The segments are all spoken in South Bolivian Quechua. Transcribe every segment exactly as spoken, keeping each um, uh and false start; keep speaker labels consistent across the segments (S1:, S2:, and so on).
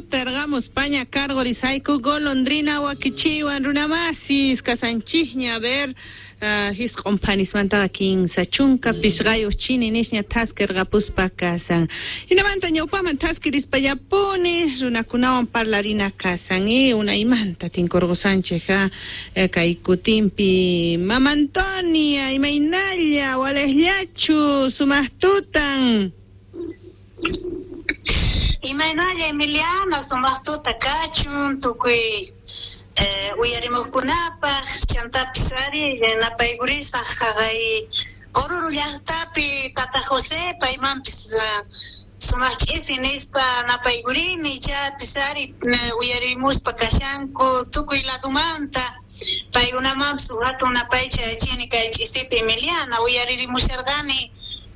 S1: Kuterqamuspaña karqurisayku golondrina wakichiwan runamasis kasanchikña a ver uh, hisq'un phanismantaqa kinsa chunka pisqayuq chini nisña thaskirqapuspa kasan. Hinamanta ñawpaman thaskirispallapuni runakunawan parlarina kasan y unaymanta tinkurqusanchik ha kay kutinpi Mama Antonia imaynalla walejllachu sumaq tutan.
S2: Imaynalla Emiliana sumaq tuta kachun tukuy eh, uyarimuqkunapaq chantapis ari napaykurisaq haqay Oruro llaqtapi Tata José paymanpis uh, sumaq ch'isi nispa napaykurini chaypis ari uyarimuspa kashanku tukuy ladumanta paykunamanpis hatun napaycha chini kay ch'isipi Emiliana uyaririmusharqani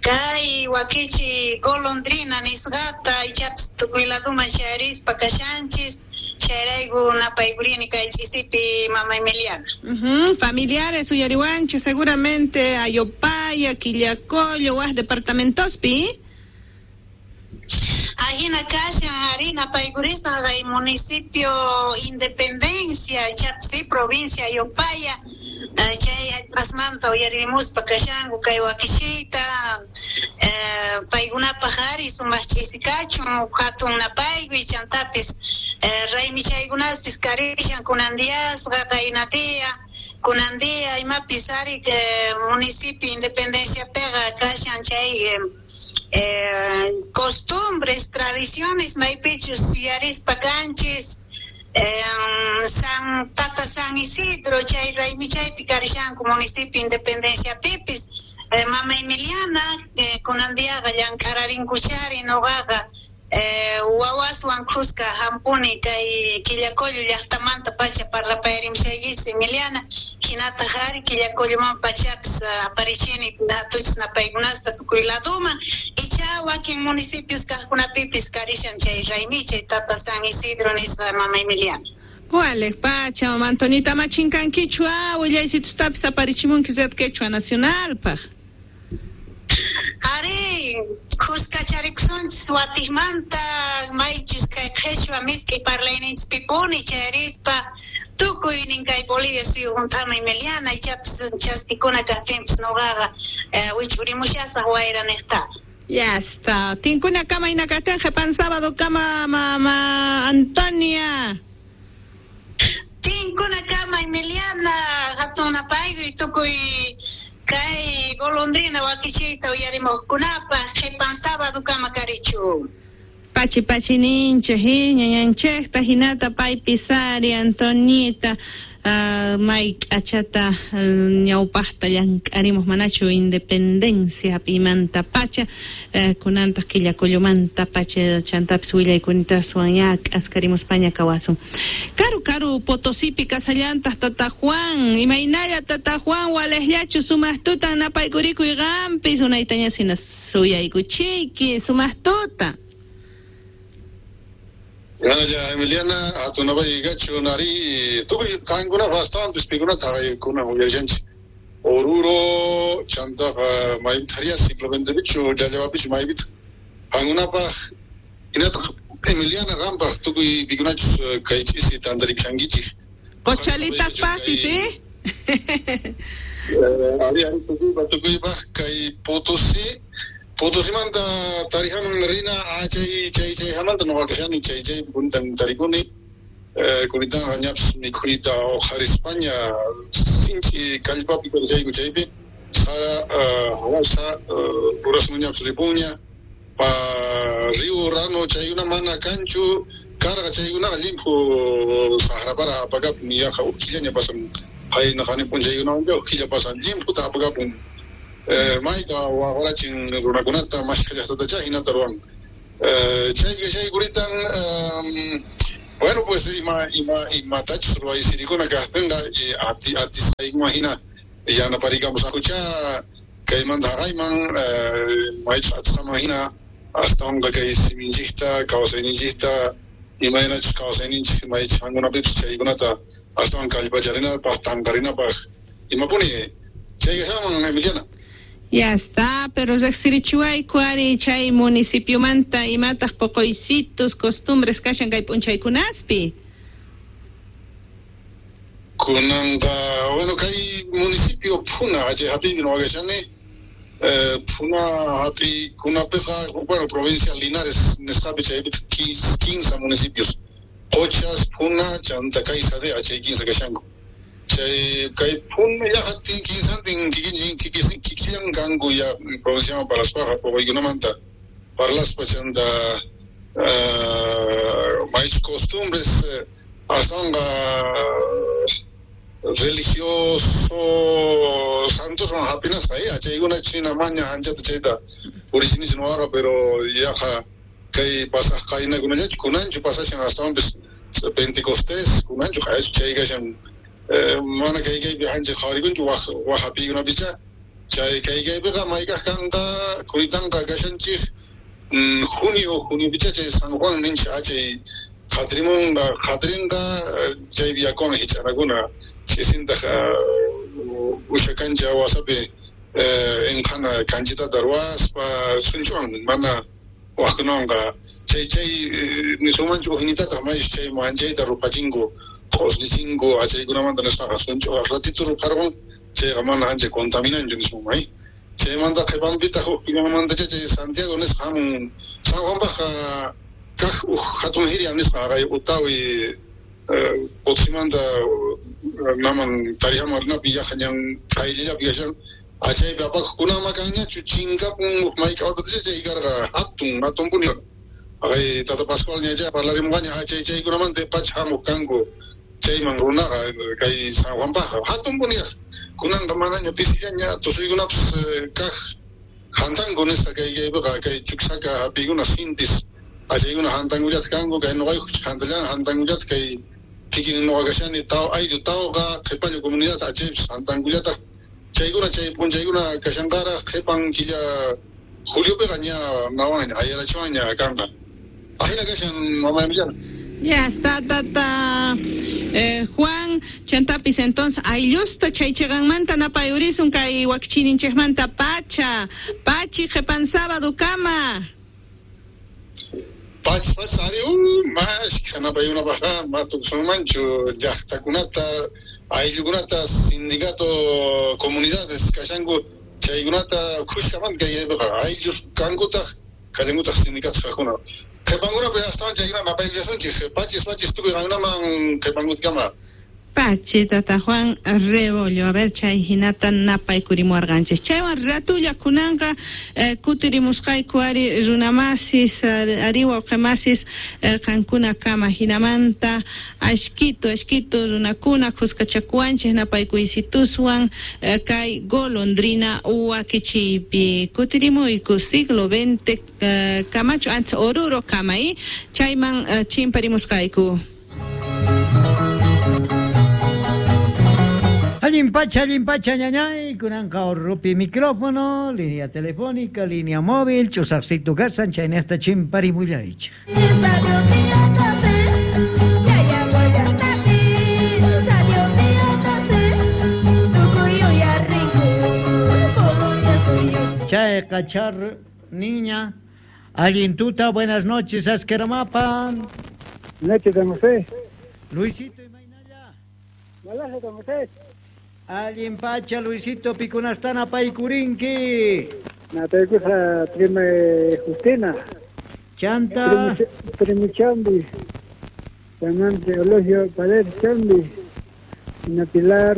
S2: kay wakichi golondrina nisqata ichapis tukuy laduman chayarispa kashanchis chayrayku napaykurini kay ch'isipi mama Emiliana.
S1: Uh-huh. Familiares uyariwanchis seguramente Ayopaya, Quillacollo, waj departamentospi.
S2: Ajina kashan ari napaykurisaq kay municipio Independencia ichapis provincia Ayopaya chay hallp'asmanta uyarimuspa kashanku kay wakishiyta eh, paykunapaq ari sumaq ch'isi kachun hatun napaykuy chantapis eh, raymichaykunaspis karishan kunan diyasqa qaynatiya kunan diya imapis ari eh, municipio Independenciapiqa kashan chay eh, eh, costumbres, tradiciones maypichus yuyarispa kanchis Eh, San Tata San Isidro chay raymichaypi karishanku municipio Independencia pipis eh, mama Emiliana eh, kunan diaqa llank'ararinkuchari nuqaqa eh, wawaswan khuska hampuni kay Quillacollo llaqtamanta pacha parlapayarimushaykichis Emiliana hinataq ari Quillacolloman pachapis aparichini hatuchis napaykunasta tukuy laduman icha wakin municipios kaqkunapipis karishan chay raymichay Tata San Isidro nisqa mama Emiliana.
S1: Walej pacha mama Antonita machinkankichu ah willaysitustapis aparichimunki Red Quechua Nacionalpaq.
S2: Ari, khuskacharikusunchis watikmanta maychus kay qhechua misk'i parlayninchispipuni chayarispa tukuynin kay Bolivia suyu hunt'ama Emiliana ichapis chaskikuna kaqtinpis nuqaqa eh, wich'urimushasaq wayra niqta.
S1: Ya está. Tinkuna kama inakatin qhipan sábado kama mama Antonia.
S2: Tinkuna kama Emiliana hatun napaykuy tukuy kay golondrina wakichiyta uyarimuqkunapaq qhipan sábado kama karichu.
S1: Pachi pachi ninchej ñañanchejta hinata paypis ari Antonita uh, may k'achata uh, ñawpaqta llank'arimuq manachu Independencia pimanta pacha uh, kunantaq Quillacollomanta pacha chantapis willaykuntaswan ya k'askarimuspaña kawasun. Karu karu Potosipi kasallantaq Tata Juan imaynalla Tata Juan walejllachu sumaq tutan napaykurikuy qampis unaytaña sina suyaykuchiyki sumaq tuta.
S3: Gracias Emiliana, atunapay gachu nari tukuy qankuna astawanpis pikunata qaykuna uyarishanchik Oruro chantaqa maypitariya simplemente pichu llallawapichu maypita qankunapaq hinataq Emiliana qampaq tukuy pikunachus kay ch'isi tantarikushankichik
S1: Qochalitas pasis, eh?
S3: Ari ari tukuypaq tukuypaq kay Potosí Potosimanta tarijaman rina ah, chay chay chay hamanta nuqa kashani chay chay puntan tarikuni eh, kuritanqa ñapis mikhuyta uqharispaña sinchi kallpapi karishayku chaypi sara hawasa urasman ñapis ripunña pa río Rano chaykuna mana kanchu karqa chaykunaqa llimphu saqrapara apakapun yaqa huk killaña pasan qayna qanipun chaykunawanqa huk killa pasan llimphuta apakapun Eh, mayta waqrachin runakunata mashkha llaqtatacha hinata ruwan eh, chaypi chay kuritan um, bueno pues ima ima imatachus ruwaysirikuna kaqtinqa ati atisaykuman hina yanaparikamusaqkucha kaymanta haqayman eh, maychus atisqaman hina astawanqa kay siminchikta kawsayninchikta imaynachus kawsayninchik maychus qankunapipis chaykunata astawan kallpacharinapaq tanqarinapaq imapuni chaykaman Emiliana.
S1: Ya está, pero riqsirichiwayku ari chay municipiomanta imataq poqoysitos, costumbres kashan kay p'unchaykunaspi.
S3: Kunanqa, bueno, kay municipio Phuna, chay hap'iypi nuqa kashani, eh, Phuna hap'iykunapiqa, bueno, provincia Linares nisqapi chaypi quince municipios, Qochas, Phuna, chanta kay Sadea, chay quince kashanku. Chay kay Phuna llaqtin quinsantin kikin kikillan kanku ya provinciaman parlaspaqa poqoykunamanta parlaspa chanta uh, mais costumbres aswanqa religioso santoswan hap'inasqa eh chaykuna china maña anchata chayta purichinichu nuqaqa, pero yaqa kay pasaq qaynakunallachu kunanchu pasashan astawanpis Pentecostés kunanchu qayachu chay kashan mana kay kaypi ancha qhawarikunchu waj waj hap'iykunapicha chay kay kaypiqa maykaq kanqa kuritanqa kashanchik junio juniopicha chay San Juan ninchik chay qhatirimunqa qhatirinqa chay yakuwan hich'anakuna ch'isintaq usha kancha wasapi inqhana kanchitata ruwaspa sunchuwan mana wajkunawanqa chay chay nisunmanchu ujnitataq maysh chay manchayta rupachinku q'usnichinku achaykunamanta nisqaqa sunch'uqa ratito rupharqun chayqa mana ancha contaminanchu nisunman chaymanta qhipanpitaq uj killamantacha chay Santiago nisqa hamun San Juanpaqqa kaq uj hatun hirya nisqa haqay Utawi Potsimanta naman Tarijaman rinapi yaqa ñan qayllallapi kashan achaypi apakuqkunama kanñachu chinkapun uj mayk'awatacha chay karqa hatun hatunpuni haqay Tata Pascual ña parlarimunqaña achay chaykunamanta pacha hamuq kanku chayman runaqa kay San Juanpaqqa hatunpuni kunanqa manaña pisillaña tusuykunapis kaq hantanku nisqa kay kaypiqa kay Chuquisaca hap'iykuna sintis achaykuna hantankullata kanku kay nuqayku hantallan hantankullata kay kikin nuqa kashani taw ayllu tawqa qhipallu comunidad achaypis hantankullataq chaykuna chay p'unchaykuna kashanqaraq qhipan killa juliopiqa ña nawanña ayarachiwanña kanqa ajina kashan mama Emiliana.
S1: Ya está, tata eh, Juan, chantapis entonces ayllusta chay chiqanmanta napayurisun kay wakchininchikmanta pacha pachi qhipan sábado kama
S3: Pachi pachi ari uh mashkha napayunapaqqa matukusunmanchu llaqtakunata ayllukunata sindicato comunidades kashanku chaykunata khushkamanta kaypiqa ayllus kankutaq kallankutaq sindicatos kaqkuna qhipankunapi astawan chaykuna napaykullasunchik pachis pachis tukuy qankunaman qhipankutkama.
S1: Pachi, tata Juan Rebollo, a ver, chay hinata napaykurimuwarqanchik. Chaywan ratulla kunanqa eh, kutirimusqayku ari runamasis, ari wawqimasis eh, qankuna kama hinamanta ashkito, ashkito runakuna khuskachakuwanchik napaykuysituswan eh, kay golondrina wakichiypi. Kutirimuyku siglo veinte eh, kamachu antes Oruro kama, eh? Chayman eh, chimparimusqayku.
S4: Allin pacha, allin pacha, ñañay, kunanqa Orrupi micrófono, línea telefónica, línea móvil, chusaqsitu kasan, chaynesta chimparimullaychik. Chayqa char niña, allin tuta, buenas noches, asqueramapa.
S5: Noches, don José.
S4: Luisito y Mainaya.
S5: Malaje, don José.
S4: Allin pacha, Luisito, pikunastana paykurinki.
S5: Napaykusa prima Justina.
S4: Chanta.
S5: Primo Chambi. Samante Eulogio Paredes Chambi. Doña Pilar.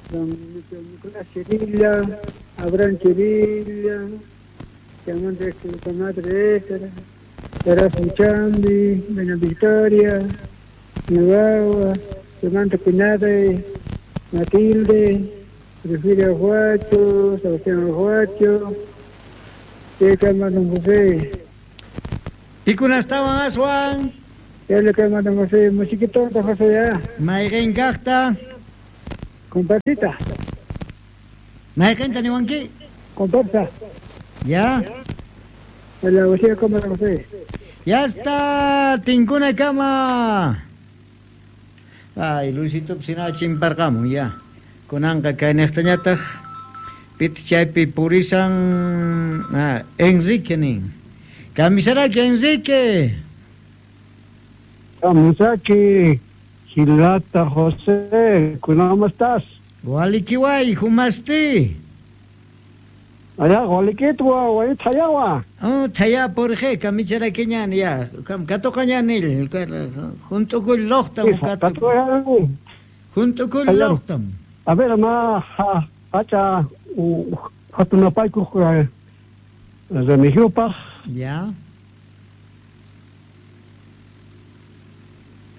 S5: Don Nicolás Chirilla. Abraham Chirilla. Samante su madre Esther. Erasmo Chambi. Doña Victoria. Nueva. Samante Pinade. Matilde, Porfirio Huacho, Sebastián Huacho, y don José.
S4: Pikunastawan aswan?
S5: Ya le quema don José, musiquito don José ya.
S4: Mayqin kaqta?
S5: Comparsita.
S4: Mayqinta niwanki?
S5: Comparsa.
S4: Ya.
S5: La José como don José.
S4: Ya está, tinkuna kama. Ay, Luisito, sina chimparqamun ya. Kunanqa kay niqtañataq Pit chaypi purisan ah, Enrique nin. Kamisaraki Enrique.
S5: Kamisaki Gilata José, ¿cómo estás?
S4: Walikiway, humasti.
S5: Allá, walikitwa, walitayawa.
S4: Oh, taya por qué, kamisaraki ñan ya, kam katokañanil, junto con lochtam, junto con lochtam.
S5: A ver, ma, hacha, hatunapayku, Remigiopa.
S4: Ya.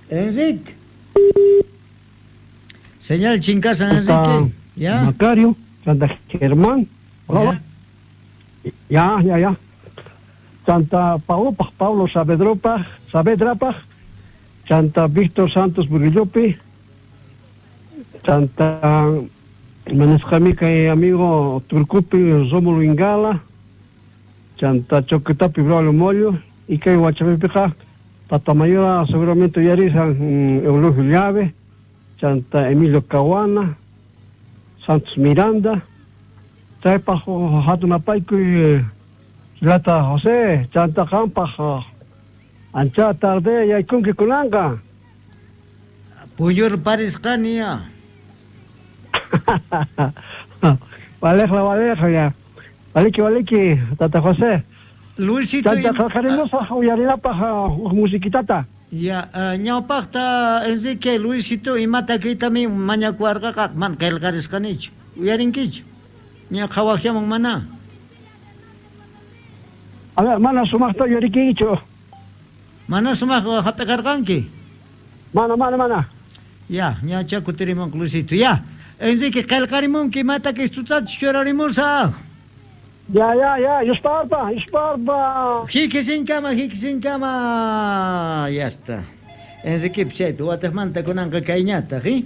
S4: Enrique. Señal chincasa, Enrique. Ya.
S5: Macario, Santa Germán. Hola. Ya, ya, ya. Santa Paulo, Pablo Saavedropa, Saavedrapa, Santa Víctor Santos Burillopi, Santa Manescamica y amigo Turcupi Rómulo Ingala, Santa Choquetapi Braulio Mollo, y que Huachapipija, Tatamayora seguramente Yarisa, Eulogio Llave, Santa Emilio Caguana, Santos Miranda, Chaypajo Hatunapayku y Lata José, Chanta Campa, Ancha tarde yaykunki kunanqa.
S4: Puyur parisqania.
S5: Valejla, valejla ya. Valiki, valiki, Tata José.
S4: Luisito.
S5: Chanta qaqarimusaq uyarinapaq musiquitata.
S4: Ya, ñawpaqta Enrique Luisito imata kaytami mañakuarqaqa man qillqarisqanichu. Uyarinkichu. Ña qhawaqllaman mana.
S5: A ver, mana sumaqta uyarikichu.
S4: Mana sumaq hap'iqarqanki.
S5: Mana, mana, mana.
S4: Ya, ñacha kutirimun Luisito. Ya, Enrique qillqarimunki imata kistutachus churarimusaq.
S5: Ya, ya, ya, yusparpa, yusparpa.
S4: Hikisinkama, hikisinkama. Ya está. Enrique chaypi wataqmanta kunanqa kayñataq, ¿eh?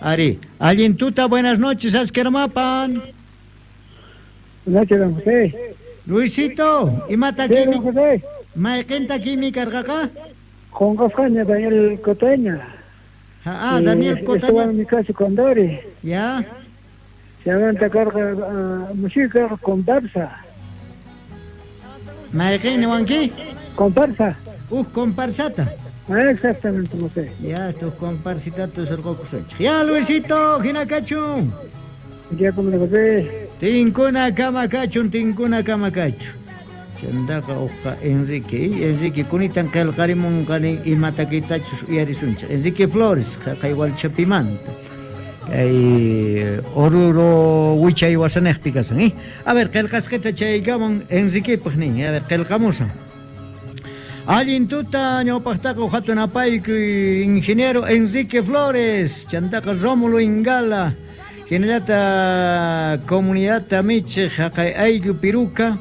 S4: Ari, allin tuta, buenas noches, askermapan.
S5: Buenas noches, José.
S4: Luisito, imata kimi, mayqinta kimi karqaqa?
S5: Qonqasqaña Daniel Cotaña.
S4: Ah, Daniel Cotaña.
S5: Estuvo en mi casa con Dori.
S4: Ya.
S5: Chaymanta karqa música comparsa.
S4: Mayqin niwanki?
S5: Comparsa.
S4: Uj comparsata.
S5: Ah, exactamente, José.
S4: Ya, estos comparsitatos orqokusunchik. Ya, Luisito, hinakachun.
S5: Ya, como José.
S4: Tinkuna kama kachun, tinkuna kama kachun. Chantaqa uqqa Enrique, Enrique kunitan qillqarimunqani imatakitachus uyarisunchik. Enrique Flores, qaqay Walchapimanta. Kay Oruro wichay wasanejpi kasan, ¿eh? A ver, qillqasqita chaykaman Enriquepaq nin, a ver, qillqamusan. Allin tuta ñawpaqtaqa hatun apayku ingeniero Enrique Flores, chantaqa Rómulo Ingala, hinallata comunidad Tamiche, haqay ayllu Piruca,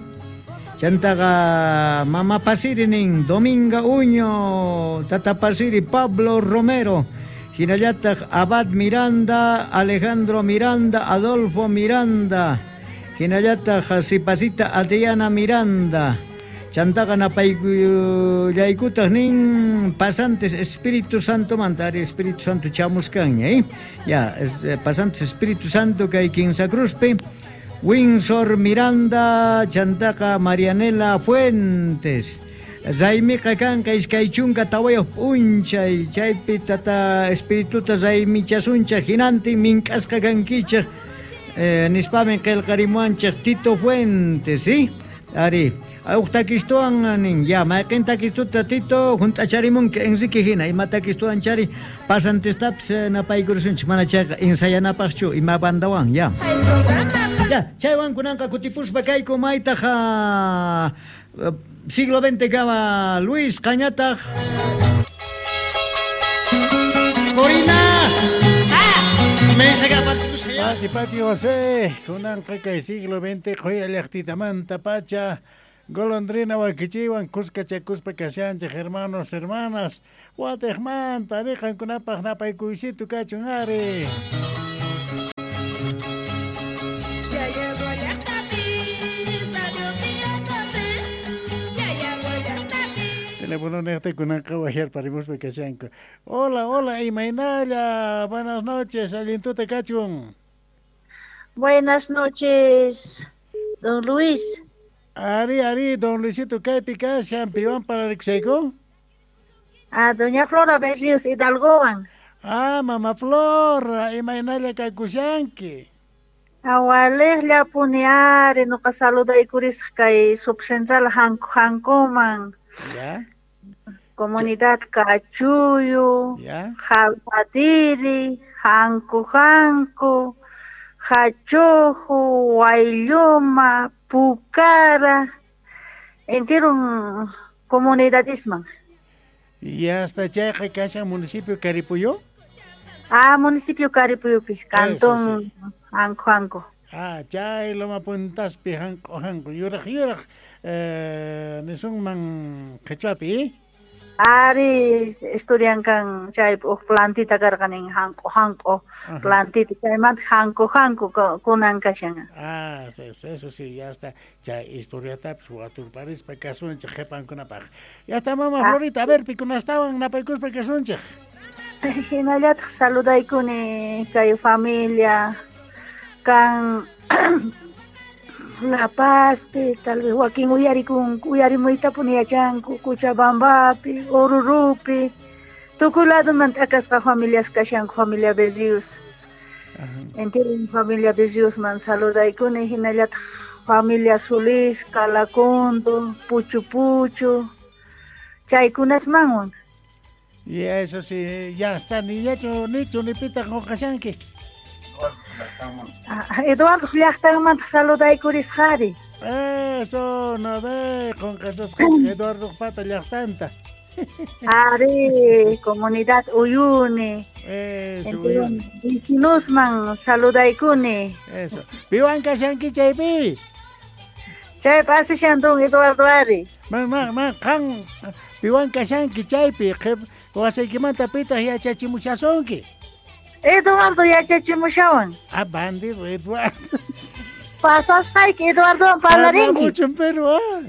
S4: chantaqa Mama Pasiri nin, Dominga Uño, Tata Pasiri Pablo Romero, hinallataq Abad Miranda, Alejandro Miranda, Adolfo Miranda, hinallataq Sipasita Adriana Miranda, chantaqa napaykullaykutaq nin pasantes Espíritu Santo manta, ari Espíritu Santo chamuskanña, ¿eh? Ya, es, eh, pasantes Espíritu Santo kay Quinsa Cruzpi, Windsor Miranda, chantaqa Marianela Fuentes, Raymiqa kanqa iskay chunka tawayuq p'unchay, chaypi tata espirituta raymichasunchaq hinantin mink'asqa kankichaq, eh, nispami qillqarimuanchaq Tito Fuentes, ¿sí? Ari, uq takistuwan nin, ya, mayqin takistuta Tito hunt'acharimunki Enrique hina, ima takistuwan chari pasantestapis napaykurusunchik, mana chayqa ensayanapaqchu ima bandawan, ya. Ya, chaywan kunanqa kutipuspa kayku maytaq siglo veinte kama Luis Cañataq.
S6: Corina.
S7: Pachi, pachi, José, kunanqa kay siglo veinte qhuya llaqtitamanta pacha golondrina wakichiwan kuskachakuspa kashanchik hermanos, hermanas, watejmanta riqankunapaq napaykuysitu kachun ari. Teléfono neqta kunanqa wayarparimuspa kashanku. Hola, hola, imaynalla, buenas noches, allintuta kachun.
S2: Buenas noches, don Luis.
S7: Ari, ari, don Luisito, kaypi kashan, piwan pararikushayku?
S2: Ah, doña Flora Berrios Hidalgowan.
S7: Ah, mama Flora, imaynalla kakushanki.
S2: Awalejlla puni ari, nuqa saludaykurisaq kay subcentral hanku hankuman.
S7: Ya.
S2: Comunidad Cachuyo,
S7: Ya.
S2: Jalpatiri, Hanku Hanku, Hachojo, Guaylluma, Pucara, enteron comunidadisman.
S7: Ya hasta chayqa kashan municipio Caripuyo?
S2: Ah, municipio Caripuyupi, cantón Hanku Hanku.
S7: Ah, chay loma puntaspi hanku hanku, yuraq yuraq, eh, nisunman qhichwapi.
S2: Ari, estudiankan chay uj plantita karqanin hanku hanku, plantita chaymanta hanku hanku kunan kashan.
S7: Ah, eso, eso sí, ya está. Chay historiatapis waturparispa kasunchik qhipankunapaq. Ya está, mama ah. Florita, a ver, pikunastawan napaykuspa kasunchik.
S2: Hinallataq saludaykuni kay familia kan La Pazpi, tal vez wakin uyarikun, uyarimuytapuni yachanku, Cochabambapi, Orurupi, tukuy ladoman t'akasqa familias kashanku, familia Berrios. Entienden, familia Berriosman saludaykuni, hinallataq familia Solís, Calacondo, Puchu Puchu, chaykunasmanwan.
S7: Y eso sí, ya está, ni yachu, nichu, ni pita qunqashanki.
S2: Ah, Eduardo llaqtanmanta saludaykurisqari.
S7: Eso, no ve, qunqasasqanchik Eduardo pata llaqtanta.
S2: Ari, comunidad Uyuni.
S7: Eso, Uyuni.
S2: Vecinosman saludaykuni.
S7: Eso. Piwan kashanki chaypi?
S2: Chaypi asishan don Eduardo ari.
S7: Man, man, man, qan piwan kashanki chaypi, wasaykimanta pitaq yachachimushasunki.
S2: Eduardo yachachimushawan.
S7: Ah, bandido, Eduardo.
S2: Pasasqayki Eduardowan parlarinki.
S7: Mucho en Perú, ah.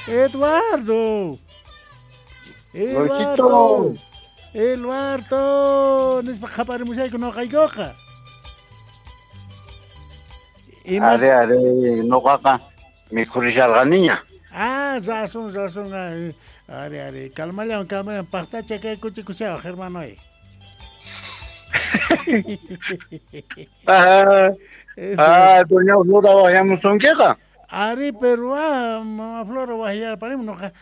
S7: Eduardo. Eduardo. Eduardo. Nispa qhaparimushayku noqaykuqa.
S8: Are, are, noqaqa mikhurisharqaniña.
S7: Ah, razón, razón. Are, are, calmallawan, calmallawan. Paqtacha kay kuchikushawaq, hermanoy.
S8: Ah, ah, doña Flora wayamusunkiqa.
S7: Ari, pero ah, mama Flora wayarparim noqa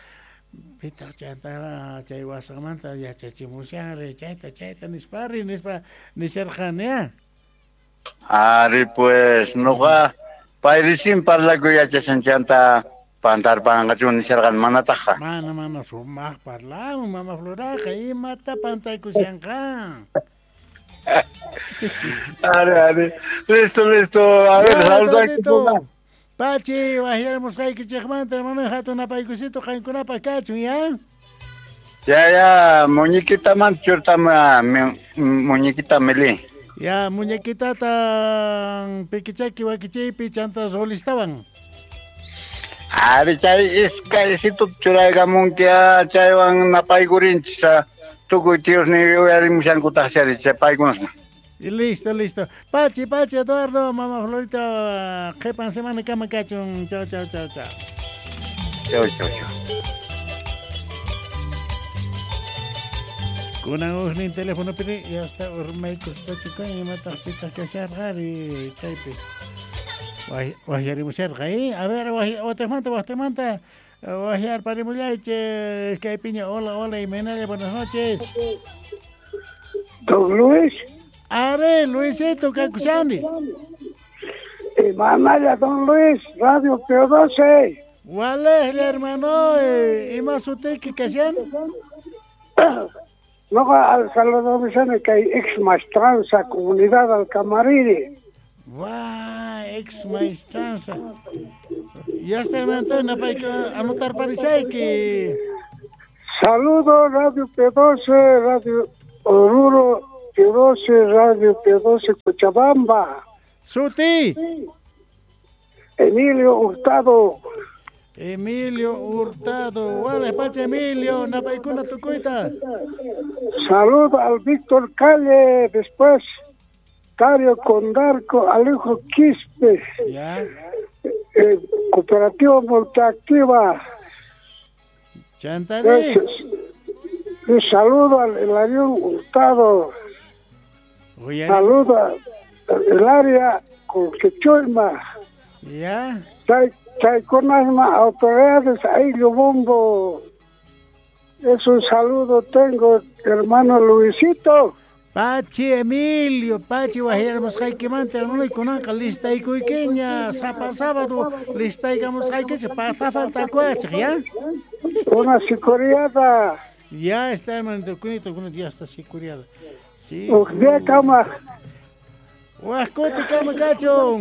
S7: pitaq chayta chay wasanmanta yachachimushanri chayta chayta nispari nispa nisharqani ah.
S8: Ari, pues noqa payrisin parlakuy yachashan chanta pantarpanqachu nisharqan manataqa.
S7: Mana mana sumaq parlamun mama Floraqa imata pantaykushanqa.
S8: Are, are. Listo, listo. A ver, saluda.
S7: Pachi, wajyarimusqaykichikmanta, hermano, hatun napaykusito qankunapaq kachun, ya?
S8: Ya, ya, muñequitaman churtama, muñequita meli.
S7: Ya, muñequitata pikichaki wakichaypi chanta rolistawan.
S8: Ari, chay iskaysito churaykamunkia, chaywan napaykurinchis. Tukuy tíos ni uyarimushankutaq chari chay paykunasman.
S7: Y listo, listo. Pachi, Pachi, Eduardo, mamá Florita, qhipan semana kama kachun. Chao, chao, chao, chao.
S8: Chao, chao, chao.
S7: Kunan ujnin teléfono piri, ya está urmaykuspachukan imataq pitaq kasharqari chaypi. Wajyarimusharqa, ¿eh? A ver, watemanta, watemanta. Wajyarparimullaychik, kaypiña, hola, hola, imaynalla, buenas noches.
S5: Don Luis.
S7: Are, Luisito, kakushani.
S5: Imanalla, don Luis, Radio P doce.
S7: Walejlla, hermano, ima sutiyki kashan?
S5: Noqa al saludamishani kay ex maestranza comunidad Alcamariri.
S7: Guau, ex maestranza. Ya está, hermano Antonio, hay que anotar parishayki.
S5: Saludo Radio P doce, Radio Oruro P doce, Radio P doce Cochabamba.
S7: Suti.
S5: Emilio Hurtado.
S7: Emilio Hurtado. Wale, pacha Emilio, napaykuna tukuyta.
S5: Saludo al Víctor Calle, después Dario Condarco, Alejo Quispe.
S7: Ya.
S5: Eh, Cooperativa Multiactiva.
S7: Chantaré.
S5: Un saludo al Hilarión Hurtado. Saludo al área Colquechoima.
S7: Ya.
S5: Chay, Chayconasma, autoridades, Aillo Bombo. Es un saludo tengo, hermano Luisito.
S7: Pachi Emilio, Pachi wajyarmusqaykimanta hermano kunanqa listaykuykiña sapa sábado listaykamusqaykichik pata faltakuwachik ya.
S5: Una sicuriada.
S7: Ya está hermano, kunito, kunito, ya está sicuriada. Sí.
S5: Uj día kama.
S7: Waj kuti kama kachun.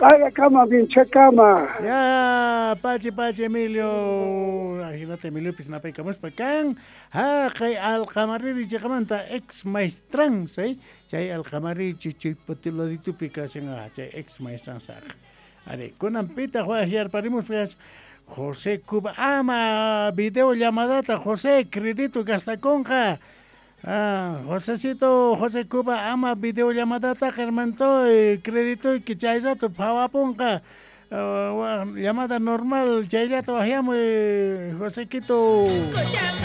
S5: Kaya kama, vinche kama.
S7: Ya, Pachi, Pachi Emilio. Ajinata Emilio napaykamuspa kan. Haqay alqamariri chiqamanta ex maestranza, eh? Chay alqamariri chay patiladitupi kashan, chay ex maestranza. Are, kunan pitaq wajyarparimuspa José Cuba, ama video llamadata José, crédito gastakonqa. Ah, Josecito, José Cuba, ama video llamadata hermantoy, crédito que chay rato phawapunqa. Uh, llamada normal, chayllata wajyamuy, Josequito.